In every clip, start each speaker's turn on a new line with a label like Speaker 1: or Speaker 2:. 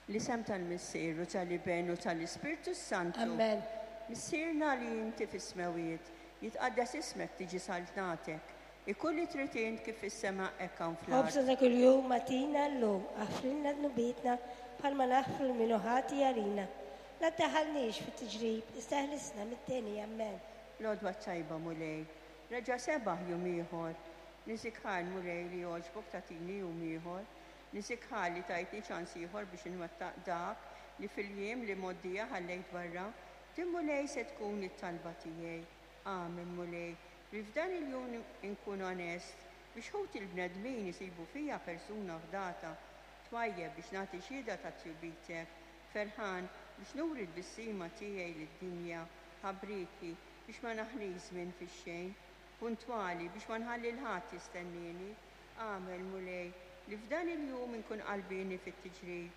Speaker 1: L-isem tal-Missier u tal-Iben u tal-Ispirtu s-Santu.
Speaker 2: Amen.
Speaker 1: Missierna li inti fis-smewwiet, jitqaddes ismek tiġi saltnatek. Ikun li trid int kif fis-sema hekk hawn fl-art.
Speaker 2: Ħobżna ta' kuljum agħtina llum, aħfrilna dnubietna bħalma naħfru lil min hu ħati għalina. La ddaħħalniex fit-tiġrib, iżda eħlisna mid-deni. Ammen.
Speaker 1: L-għodwa t-tajba, Mulej. Reġa' sebaħ jum ieħor. Niżik ħajr, Mulej, li għoġbok tagħtini jum ieħor. Niżik ħajr li tajtni ċans ieħor biex inwettaq dak li fil-jiem l-imgħoddija ħallejt barra. Din, Mulej, se tkun it-talba tiegħi. Agħmel, Mulej, li f'dan il-jum inkun onest biex ħuti l-bnedmin isibu fija persuna fdata, twajjeb biex nagħti xhieda ta' tjubitek, ferħan biex nuri t-tbissima tiegħi lid-dinja, ħabrieki biex ma naħlix żmien fix-xejn, puntwali biex ma nħalli 'l ħadd jistennieni. Agħmel, Mulej, li f'dan il-jum inkun qalbieni fit-tiġrib,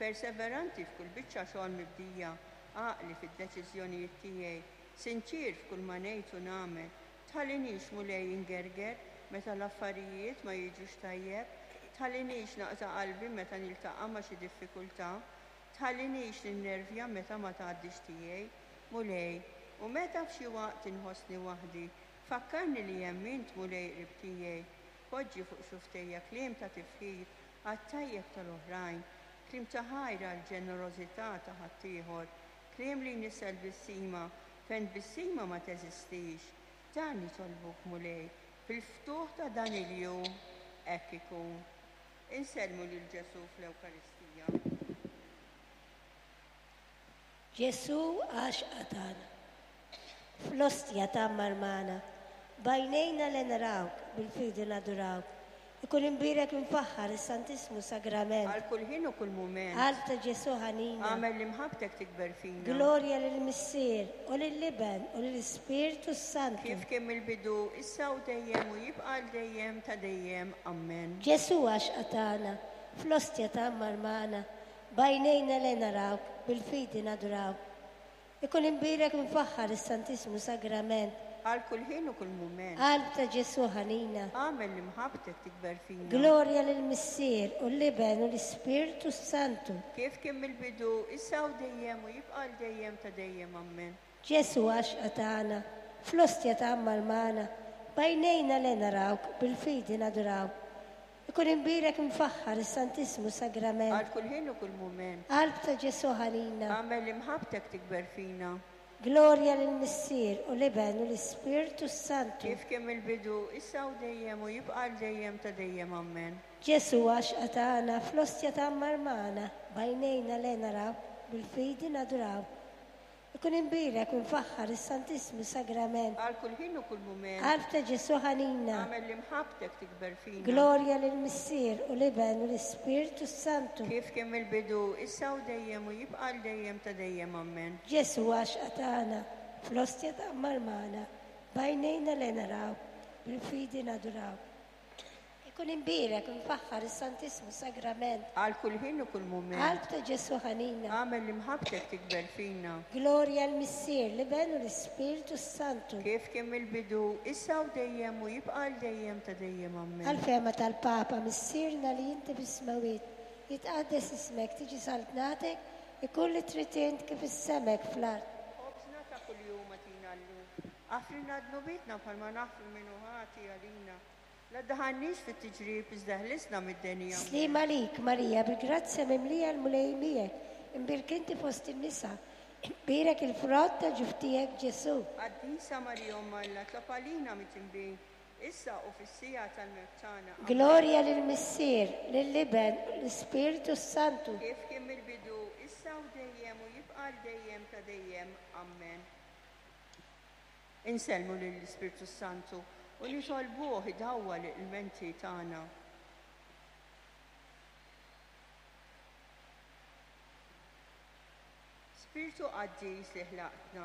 Speaker 1: perseveranti f'kull biċċa xogħol mibdija, għaqli fid-deċiżjonijiet tiegħi, sinċier f'kull ma ngħid u nagħmel. Tħallinix, Mulej, ingerger meta l-affarijiet ma jiġux tajjeb. Tħallinix naqta' qalbi meta niltaqa' ma' xi diffikultà. Tħallinix ninnervja meta ma tgħaddix tiegħi. Mulej, u meta f'xi waqt inħossni waħdi, fakkarni li hemm int, Mulej, qrib tiegħi. Poġġi fuq xufftejja kliem ta' tifħir għat-tajjeb tal-oħrajn, kliem ta' ħajr għall-ġenerożità ta' ħaddieħor, kliem li jnissel tbissima fejn tbissima ma teżistix. Dan nitolbuk, Mulej, fil-ftuħ ta' dan il-jum, hekk ikun. Insellmu lil Ġesù fl-Ewkaristija.
Speaker 2: Ġesù għaxqa tagħna. Fl-ostja tgħammar magħna. B'għajnejna le narawk, bil-fidi nadurawk. Ikun imbierek imfaħħar is-Santissmu Sagrament.
Speaker 1: Għal kull ħin u kull mument.
Speaker 2: Qalb ta' Ġesù ħanina.
Speaker 1: Agħmel li mħabbtek tikber fina.
Speaker 2: Glorja lill-Missier, u lill-Iben, u lill-Ispirtu s-Santu.
Speaker 1: Kif kien mill-bidu, issa u dejjem u jibqa' għal dejjem ta' dejjem. Ammen.
Speaker 2: Ġesù għaxqa tagħna, fl-ostja tgħammar magħna. B'għajnejna le narawk, bil-fidi nadurawk. Ikun imbierek imfaħħar is-Santissmu Sagrament.
Speaker 1: Għal kull ħin u kull mument.
Speaker 2: Qalb ta' Ġesù ħanina.
Speaker 1: Agħmel li mħabbtek tikber fina.
Speaker 2: Glorja lill-Missier, u l-Iben, u l-Ispirtu s-Santu.
Speaker 1: Kif kien mill-bidu, issa u dejjem u jibqa' għal dejjem ta' dejjem. Ammen.
Speaker 2: Ġesù għaxqa tagħna, fl-ostja tgħammar magħna, b'għajnejna le narawk, bil-fidi nadurawk. Ikun imbierek imfaħħar is-Santissmu Sagrament.
Speaker 1: Għal kull ħin u kull mument.
Speaker 2: Qalb ta' Ġesù ħanina.
Speaker 1: Agħmel li mħabbtek tikber fina.
Speaker 2: Glorja lill-Missier, u l-Iben, u l-Ispirtu s-Santu.
Speaker 1: Kif kien mill-bidu, issa u dejjem u jibqa' għal dejjem ta' dejjem. Ammen.
Speaker 2: Ġesù għaxqa tagħna, fl-ostja tgħammar magħna, b'għajnejna le narawk, bil-fidi nadurawk. Ikun imbierek u mfaħħar is-Santissmu Sagrament.
Speaker 1: Għal kull ħin u kull mument.
Speaker 2: Qalb ta' Ġesù ħanina.
Speaker 1: Agħmel li mħabbtek tikber fina.
Speaker 2: Glorja lill-Missier, u l-Iben, u l-Ispirtu s-Santu.
Speaker 1: Kif kien mill-bidu, issa u dejjem u jibqa' għal dejjem ta' dejjem. Ammen.
Speaker 2: Ġesù għaxqa tagħna, fl-ostja tgħammar magħna, b'għajnejna le narawk, bil-fidi nadurawk. Ikun imbierek u mfaħħar is-Santissmu Sagrament.
Speaker 1: Għal kull ħin u kull mument.
Speaker 2: Qalb ta' Ġesù ħanina.
Speaker 1: Agħmel li mħabbtek tikber fina.
Speaker 2: Glorja l-Missier, l-Iben u l-Ispirtu s-Santu.
Speaker 1: Kif kien mill-bidu, issa u dejjem u jibqa' għal dejjem ta' dejjem. Ammen.
Speaker 2: Għall-fehma tal-Papa, Missierna li inti fis-smewwiet, jitqaddes ismek, tiġi saltnatek, ikun li trid int kif is-sema hekk fl-art.
Speaker 1: Ħobżna ta' kuljum agħtina llum. Aħfrilna dnubietna bħalma naħfru min hu ħati għalina. La ddaħħalniex fit-tiġrib, iżda ħlisna mid-deni. Ammen.
Speaker 2: Sliem għalik, Marija, bil-grazzja mimlija l-Mulej miegħek, imbierk inti fost in-nisa, imbierek il-frott ta' ġuf tiegħek, Ġesù.
Speaker 1: Qaddisa Marija Omm Alla, tlob għalina midinbin, issa u fis-siegħa tal-mewt tagħna. Ammen.
Speaker 2: Glorja lill-Missier, lill-Iben, u lill-Ispirtu s-Santu.
Speaker 1: Kif kien mill-bidu, issa u dejjem u jibqa' għal dejjem ta' dejjem. Ammen. Insellmu lill-Ispirtu s-Santu u nitolbuh idawwal il-menti tagħna. Spirtu qaddis li ħlaqtna,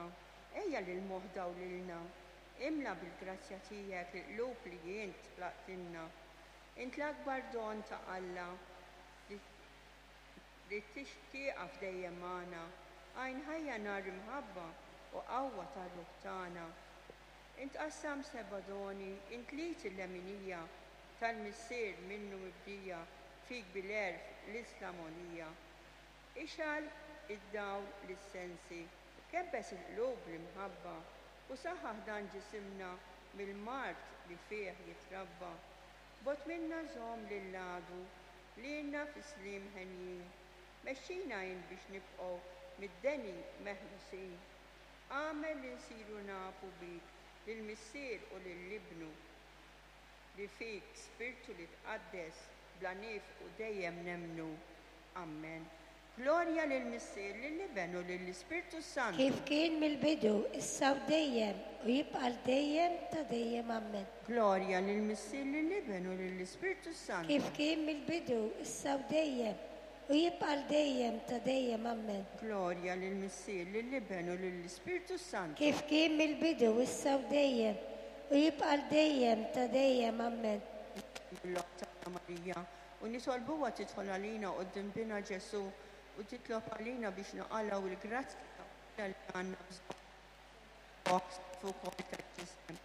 Speaker 1: ejja lil moħħ dawlilna, imla bil-grazzja tiegħek il-qlub li int ħlaqtilna. Int l-akbar don ta' Alla li li tieqaf dejjem magħna, għajn ħajja nar imħabba u qawwa tar-ruħ tagħna. Int qassam seba' doni, int l-id il-leminija tal-Missier minnu mibdija fik bil-għerf l-Isla mogħnija. Ixgħal id-dawl lis-sensi, kebbes il-qlub bl-imħabba, u saħħaħ dan ġisimna mill-mard li fih jitrabba. Bogħod minna żomm lill-għadu, lilna fis-sliem henjin. Mexxina int biex nibqgħu mid-deni meħlusin. Agħmel li nsiru nafu bik lill-Missier u lil Ibnu, li fik, Spirtu li tqaddes, bla nifqu dejjem nemmnu. Ammen. Glorja lill-Missier, lill-Iben u lill-Ispirtu s-Santu.
Speaker 2: Kif kien mill-bidu, issa u dejjem, u jibqa' għal dejjem ta' dejjem. Ammen.
Speaker 1: Glorja lill-Missier, lill-Iben u lill-Ispirtu s-Santu.
Speaker 2: Kif kien mill-bidu, issa u dejjem, u jibqa' għal dejjem ta' dejjem. Ammen.
Speaker 1: Glorja lill-Missier, lill-Iben u lill-Ispirtu s-Santu.
Speaker 2: Kif kien mill-bidu, issa u dejjem, u jibqa' għal dejjem ta' dejjem. Ammen.
Speaker 1: Mill-Omm tagħna Marija, u nitolbuha tidħol għalina quddiem Binha Ġesù u titlob għalina biex naqalgħu l-grazzja ta' li għandna bżonn fuq ukoll tal-ġisem.